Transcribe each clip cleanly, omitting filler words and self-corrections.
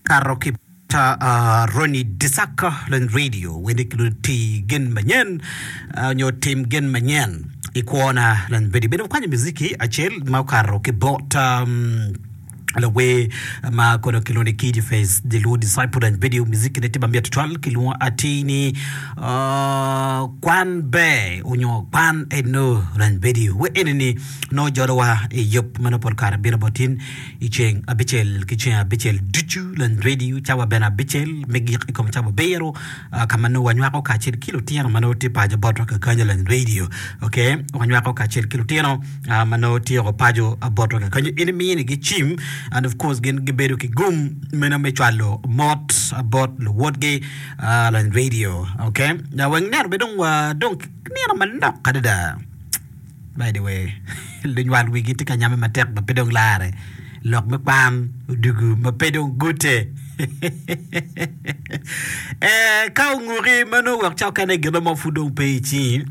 Kato ki bot Ronnie Disaka lony radio wene ki lony ti gin manyen nyo tim gin manyen i kwona lony radio bene wakwanyo muziki acel ma okato ki bot lawer ma kono kilwongo ni Kidi Face the Luo Disciple lony radio muziki ne tye mamit tutwal kilwongo atir ni kwan ber onyo kwan eno lony radio wer eni ni nongo jolowa i yub ma nongo pol kare bino bot in I ceng abicel ki ceng abicel ducu, lony redio cawa bene abicel me gik i kom cawa abiro, ka ma nongo wanywako kacel ki lutino ma nongo tye paco botwa kakanyo lony redio. Ok, wanywako kacel ki lutino ma nongo tye o paco botwa kakanyo. In iminigi cim and of course gin gibedo ki gum meno me cwalo mot bot luwotgi lony redio. Ok, wek neno bene dong wadong nino manok adada. By the way, lunywal wigi tye ka nyame matek ma pe dong lare. Lok me kwan odugu ma pe dong gute. Eh, ka onguki ma nongo wek cokene gin mo pud dong pe i cingi,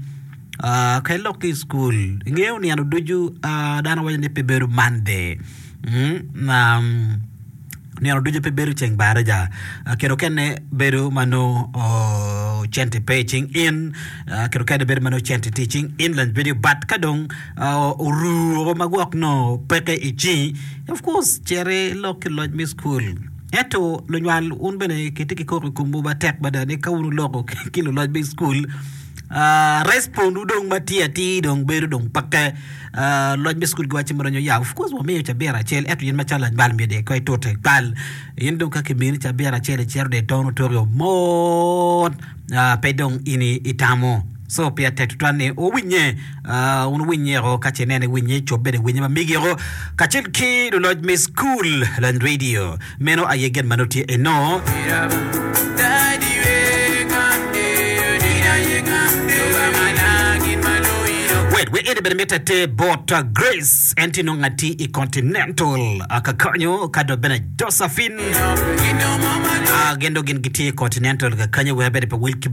ah, ka ilok ki i cukul, ingeyo nino ducu ah, dano waco ni pe bedo Monday. Mm, um, Nino ducu pe bedo ceng baraja. Kit okene bedo ma nongo cente pe i cing in, kit okene bedo ma nongo cente tye i cing in lany bedo but ka dong oru woko ma gwok nongo peke i cingi, of course cit ilok ki luloc me cukul. Ento lunywal wun bene kitye ki koko i komwu matek mada ni ka wun wuloko ki luloc me cukul, respond wu dong ma tye atir dong bedo dong peke. Loc me cukul giwacci mono nyo ya of course wamiyo cabit acel ento in macalo lanywal myero dong ikoy tute ikwal in dong ka kimini cabit acel icito dong itono toki mot pe dong in itamo so pire tek tutwal ni wuwinye wun wuwinye o ka ce ineno iwinye cob bene winye ma megi o kacel ki luloc me cukul lony radio Meno aye gin ma nongo tye eno. Wait, we eni bene mitte te bot Grace, en tye nongo ati i Continental kakanyo, ka dok bene Josephine, gin dong gin gitye i Continental kakanyo, wek bene pe wil ki.